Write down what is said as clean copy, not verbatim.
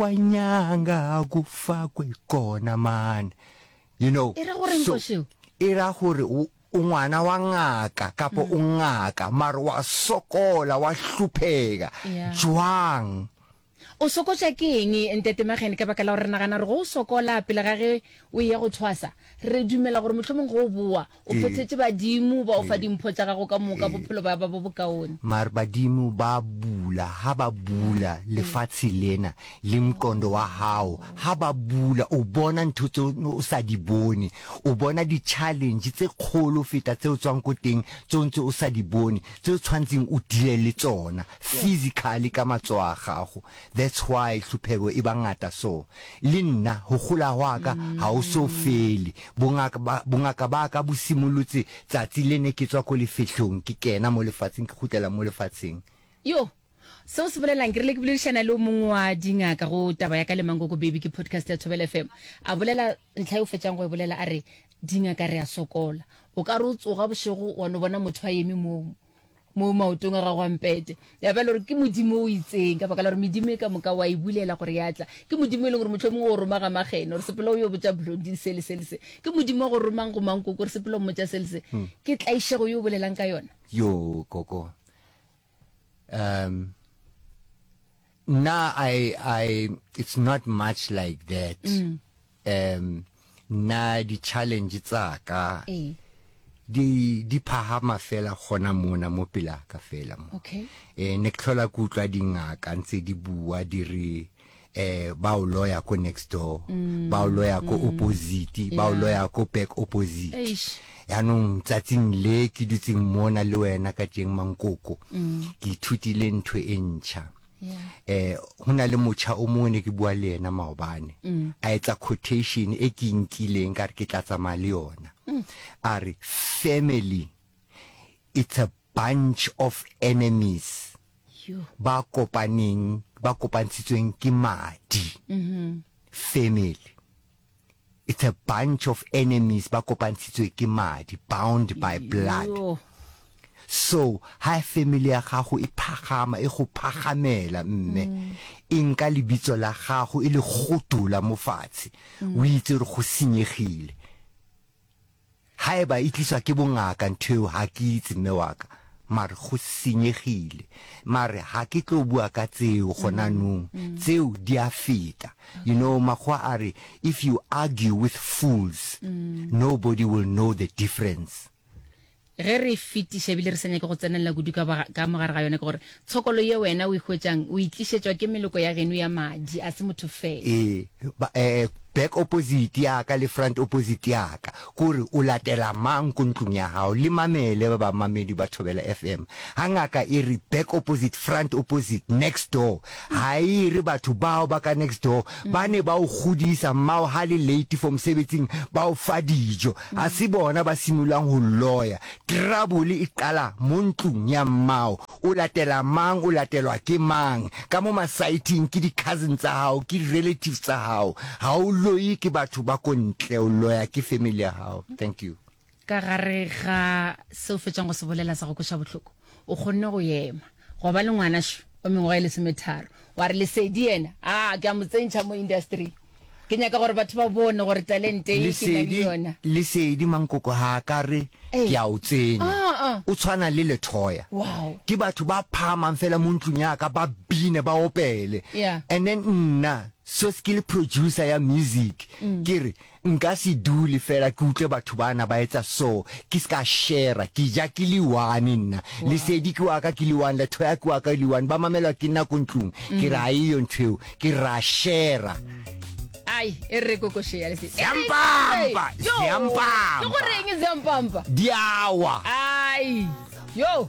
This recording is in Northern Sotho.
kwanyanga kufakwe kona man. You know. E ra goreng so, košeo? E ra gore o o ngwana wa ngaka kapa o ngaka mare wa sokola wa hlupheka Yeah. jwang? O sokotša ke eng, Ntate Magene? Ka baka la gore re nagana gore ge o sokola pele ga ge o eya go thwasa, re dumela gore mohlomong ge o boa, o phethetše badimo ba o fa dimpho tša gago ka moka, bophelo ba ba bo bokaone. Mare badimo ba bula, ha ba bula lefatshe lena le mqondo wa hao, ha ba bula o bona ntho tse o sa di bone, o bona di-challenge tse kgolo feta tse o tswang ko teng tse o ntse o sa di bone, tse o tshwantseng o deale le tsona. Physically ka matsoho a gago that's why hlupheko e ba ngata so. Le nna ho gola hwa ka ha o so fele. Bongaka ba bongaka ba ka bo simolotse tsatsi le ne ke tswa ko lefehlong ke kena mo lefatsheng ke kgutlela mo lefatsheng. Yo! Seo se bolelang, ke rile ke boledišana le o mongwe wa dingaka go taba ya ka le Mankoko Baby ke podcast ya Thobela FM. A bolela ntlha e o fetšang go e bolela a re dingaka re a sokola. O ka re o tsoga bošego wa no bona motho a eme moo mo maotong a gago a mpete ya ba le gore ke modimo o itseng ka baka la gore medimo e ka moka wa e bulela gore ya tla ke modimo e leng gore motlho mongwe o roma ga magene gore sepela o yo botša blondin se le se le se ke modimo wa go romang go mankoko gore sepela o mmotša se le se hmm. ke tlaišego yo o bolelang ka yona yo koko um nna i i it's not much like that mm. um nna di challenge tsa ka ee. di di phahama fela gona mona mo pela ka fela mo okay eh ne ke tlhola ke utlwa dingaka ntse di bua di re eh ba o loya ko next door mm, ba o loya ko mm, opposite ba o loya ko back opposite yaanong tsatsing le ke dutseng mona le wena ka teng mankoko mm. ke ithutile ntho e ntšha eh ho na le motjha o mongwe ne ke bua le yena maobane mm. a etsa quotation e ke nkileng ka re ke tla tsamaya le yona mm. a re family it's a bunch of enemies ba kopaneng ba kopantshitsweng ke madi mm -hmm. family It's a bunch of enemies ba kopantshitswe ke madi, bound by blood. Yo. So ha family ya gago e phagama, e go phagamela mme, e nka lebitso la gago e le gotola mo fatshe, o itse gore go senyegile. Haeba e tliswa ke bongaka ntho eo ha ke itse mme wa ka, mare go senyegile. Mare ha ke tlo bua ka tseo gona nong, tseo di a feta. You know makgowa a re if you argue with fools, nobody will know the difference. Ge re fetiša ebile re sa nyake go tsenelela kudu ka, ka mo gare ga yona ke gore tshokolo ye wena o e hwetšang o e tlišetšwa ke meloko ya geno ya madi, a se motho fela. Ee, ba, eh, back opposite ya ka le front opposite ya ka, kore o latela mang ko ntlong ya gago. Le mamele ba bamamedi ba Thobela FM. Ha ngaka e re back opposite, front opposite, next door, ha e re batho bao ba ka next door ba ne ba o godisa, mmao ha le late for mosebetsing ba o fa dijo. Ga se bona ba simololang go loya. Trouble e qala mo ntlong ya mmao. O latela mang, o latelwa ke mang? Ka mo masaething ke di cousin tsa gago, ke di relatives tsa gago. Ga o loye ke batho ba ko ntle, o loya ke family ya gago. Thank you. Ka gare ga se o fetšang go se bolela sa go kweša bohloko, o kgonne go ema, gwa ba le ngwana šo wa mengwaga e lesometharo, wa re Lesedi yena, a ke a mo tsentšha mo industry. Ke nyaka gore batho ba bone gore talente ye ke na le yona. Lesedi Mankoko ga a ka re ke a o tsenya. Ah, ah. O tshwana le Lethoya. Wow. Ke batho ba phahamang fela mo ntlong ya ka ba bine ba opele. Yeah. And then nna so ke le producer ya music ke re Nka se dule fela ke utlwe batho bana ba etsa so, ke ska share-a. Ke ja ke le one nna. Lesedi ke wa ka ke le one, Lethoya ke wa ka le one, ba mamelwa ke nna ko ntlong. Ke re ha eyo ntho eo, ke re ra share-a. Ai, e re koko share Lesedi. Ziampampa, Yo! ziampampa. Ke goreng ziampampa? Di a wa. Ai, yo!